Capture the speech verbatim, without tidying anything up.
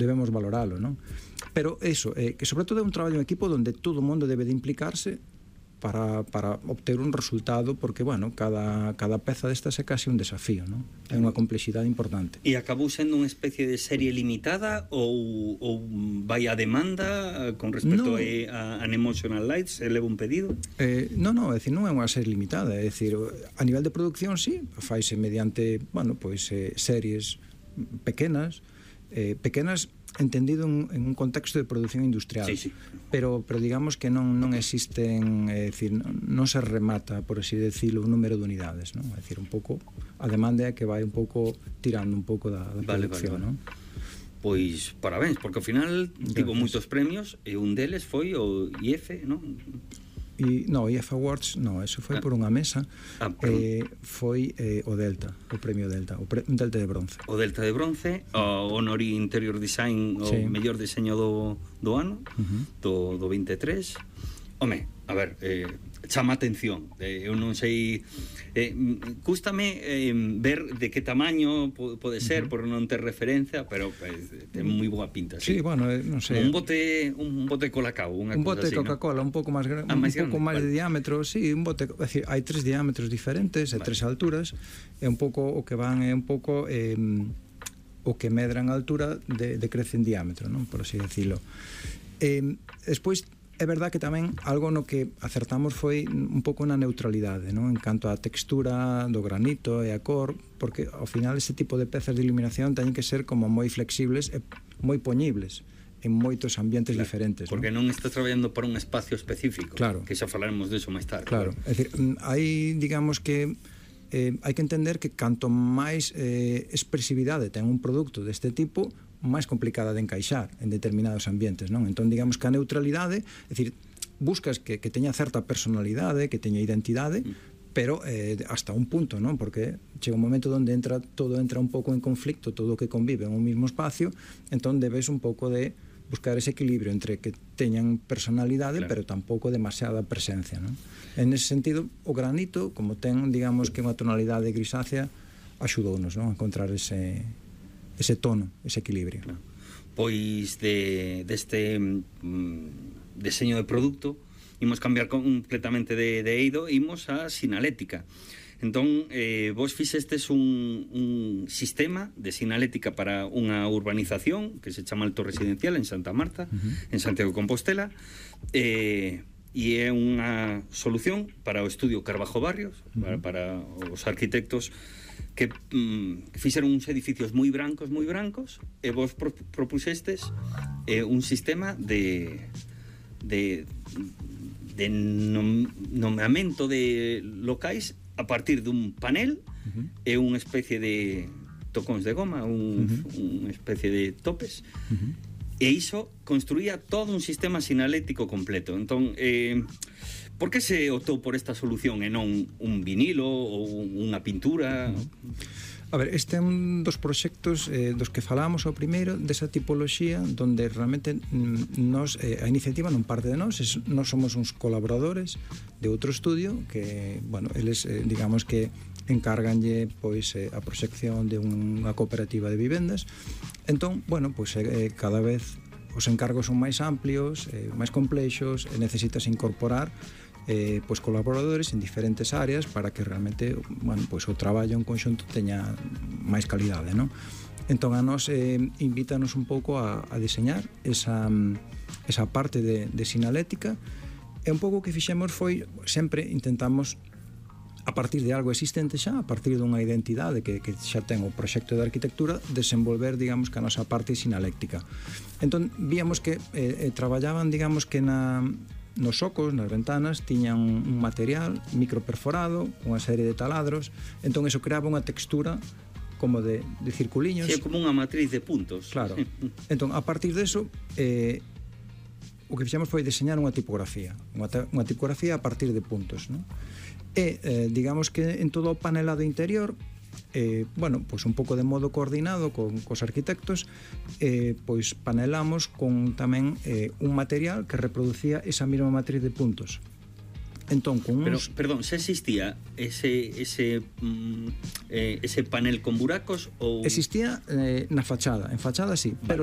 debemos valoralo, non? Pero eso, eh, que sobre todo é un traballo en equipo onde todo o mundo debe de implicarse para, para obter un resultado, porque, bueno, cada, cada peza destas é casi un desafío, non? É unha complexidade importante. E acabou sendo unha especie de serie limitada ou, ou vai a demanda con respecto no. a, a Unemotional Lights? Eleva un pedido? Eh, non, non, é dicir, non é unha serie limitada, é dicir, a nivel de producción, sí, faise mediante, bueno, pois, eh, series pequenas, eh, pequenas entendido en, en un contexto de producción industrial, sí, sí. pero pero digamos que non non existen, é dicir, non se remata, por así decirlo, un número de unidades, non? É dicir, un pouco a demanda é que vai un pouco tirando un pouco da, da vale, producción, vale, vale. non? Pois parabéns, porque ao final tivo moitos premios e un deles foi o I F, non? E, no, I F Awards, no, eso foi ah. por unha mesa, ah, eh, foi eh, o Delta, o premio Delta, o pre, un Delta de bronce. O Delta de bronce, o Honori Interior Design, o sí. mellor diseño do, do ano, uh-huh. do, do veintitrés. Home, a ver, eh, chama atención, eh, eu non sei, eh, cústame eh, ver de que tamaño pode ser, uh-huh. por non ter referencia, pero eh, ten moi boa pinta. Sí, sí, bueno, eh, non sei. Un bote, un bote Colacao, unha un bote así, de Coca-Cola, ¿no? un pouco máis grande, ah, un pouco máis vale. de diámetro, sí, un bote, é dicir, hai tres diámetros diferentes, e vale. tres alturas, é un pouco o que van é un pouco eh, o que medran a altura de, de crece en diámetro, non? Por así decirlo. Eh, despois é verdad que tamén algo no que acertamos foi un pouco na neutralidade, non? En canto á textura do granito e a cor, porque ao final ese tipo de pezas de iluminación teñen que ser como moi flexibles e moi poñibles en moitos ambientes claro, diferentes, porque non, non estás traballando para un espacio específico, claro. que xa falaremos diso máis tarde. Claro, claro. É dicir, hai, digamos que eh, hai que entender que canto máis eh, expresividade ten un produto deste tipo, máis complicada de encaixar en determinados ambientes, non? Entón, digamos que a neutralidade, é dicir, buscas que, que teña certa personalidade, que teña identidade, mm. pero eh, hasta un punto, non? Porque chega un momento onde entra todo entra un pouco en conflicto, todo o que convive en un mismo espacio, entón debes un pouco de buscar ese equilibrio entre que teñan personalidade, claro. pero tampouco demasiada presencia, non? En ese sentido, o granito, como ten, digamos, que unha tonalidade grisácea, axudounos, non? A encontrar ese ese tono, ese equilibrio. Claro. Pois de deste mm, diseño de produto imos cambiar completamente de, de eido, imos a sinalética. Entón, eh, vos fixestes un, un sistema de sinalética para unha urbanización que se chama Alto Residencial en Santa Marta, uh-huh. en Santiago de Compostela, eh, e é unha solución para o estudio Carbajo Barrios, uh-huh. para, para os arquitectos que mm, fixeron uns edificios moi brancos, moi brancos, e vos pro, propuxestes eh, un sistema de de, de nom, nomeamento de locais a partir dun panel uh-huh. e unha especie de tocóns de goma, un, uh-huh. unha especie de topes, uh-huh. e iso construía todo un sistema sinalético completo. Entón, eh, por que se optou por esta solución e non un vinilo ou unha pintura? A ver, este é un dos proxectos eh, dos que falamos ao primeiro, desa tipoloxía, donde realmente nos, eh, a iniciativa non parte de nós, es, nós somos uns colaboradores de outro estudio que, bueno, eles, eh, digamos que encárganlle pois eh, a proxección de unha cooperativa de vivendas. Entón, bueno, pois eh, cada vez os encargos son máis amplios, eh, máis complexos, e necesitas incorporar eh, pois colaboradores en diferentes áreas para que realmente, bueno, pois o traballo en conxunto teña máis calidade, non? Entón a nos eh, invítanos un pouco a, a diseñar esa, esa parte de, de sinalética, e un pouco o que fixemos foi, sempre intentamos a partir de algo existente xa, a partir dunha identidade que, que xa ten o proxecto de arquitectura, desenvolver, digamos, que a nosa parte sinaléctica. Entón, víamos que eh, eh, traballaban, digamos, que na nos socos, nas ventanas, tiñan un material microperforado, unha serie de taladros, entón eso creaba unha textura como de, de circuliños. Sí, como unha matriz de puntos. Claro. Entón, a partir deso, eh, o que fixemos foi diseñar unha tipografía, unha, unha tipografía a partir de puntos, non? E, eh, digamos que en todo o panelado interior, eh, bueno, pois un pouco de modo coordinado con cos arquitectos, eh, pois panelamos con tamén eh, un material que reproducía esa mesma matriz de puntos. Entón, con uns... Pero, perdón, xa existía ese ese mm, eh, ese panel con buracos ou... Existía eh, na fachada, en fachada sí, vale. Pero